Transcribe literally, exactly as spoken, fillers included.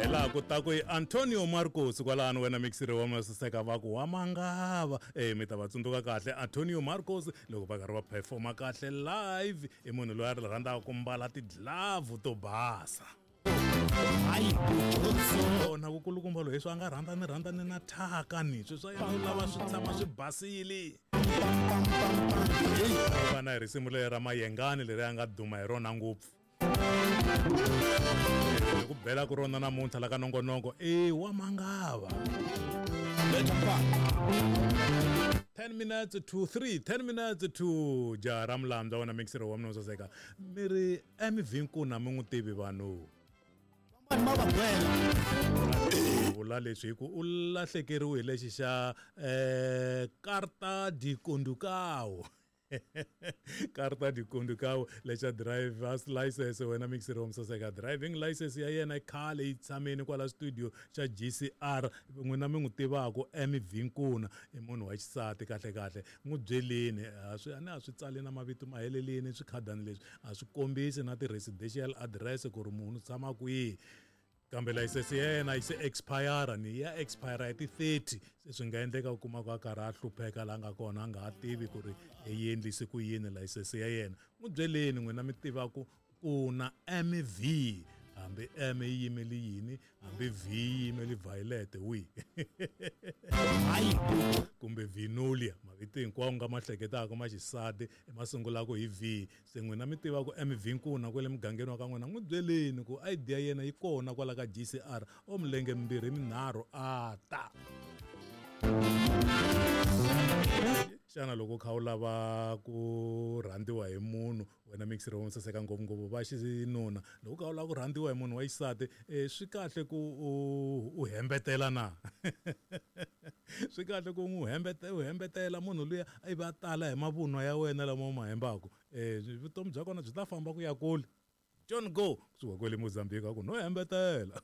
Hi laha ku ta ku i Antonio Marcos kwalano wena mixiri wa masaseka va ku wa mangava e mi ta va tsundzuka kahle Antonio Marcos loko va karhi va performa kahle live i munhu loyi a ri rhandzaka ku mbala ti-glove to basa. Kona vukulukumba loyi leswi a nga rhandza ni rhandza ni na thyaka ni sweswi swa yena u lava swi tshama swi basile. Vana hi risimu leri ra Mayengani leri a nga duma hi rona ngopfu ku bela ku rona namuntlha la ka nongonoko i wa mangava. ten minutes to three, ten minutes to jaha ra mulandza wena mixer wa mina saseka mi ri M V Nkuna mi n'wi tivi vanhu vula leswi hi ku u lahlekeriwe hi lexi xa eh carta de condução, carta de condução lexa drivers license wena mixer wa musaseka. Driving license ya yena i khale yi tshameni kwala studio xa G C R. N'wina mi n'wi tivaka M V Nkuna i munhu wa xisati kahle kahle n'wi byeleni a swi a ni a swi tsali na mavito ma helelini swikhadani leswi a swi kombisi na ti-residential address ku ri munhu u tshama kwihi kambe layisense ya yena yi se expire ni ya expire hi ti-thirty se swi nga endleka u kuma ku a karhi a hlupheka laha nga kona a nga ha tivi ku ri yi endlise ku yini layisense ya yena. N'wi byeleni n'wina mi tivaku ku na M V hambi M yi yimeli yini hambi V yi yimeli violet wi kumbe vinolia mavito hinkwawo nga ma hleketaka ma xisati ma sungulaka hi V. Se n'wina mi tiva ku M V Nkuna kwale mugangeni wa ka n'wina n'wi byeleni ku I D ya yena yi kona kwala ka G C R o milenge mimbirhi minharhu a ta. Xana loko u kha u lava ku rhandziwa hi munhu wena mixer wo saseka ngopfungopfu va xinuna loko u kha u lava ku rhandziwa hi munhu wa xisati um swi kahle ku u u hembetela na swi kahle ku n'wi hembete u hembetela munhu luya ivi a tala hi mavunwa ya wena lama u ma hembaka um vutomi bya kona byi ta famba ku ya kule. John Go kusuka kwele Mozambique a ku no hembetela.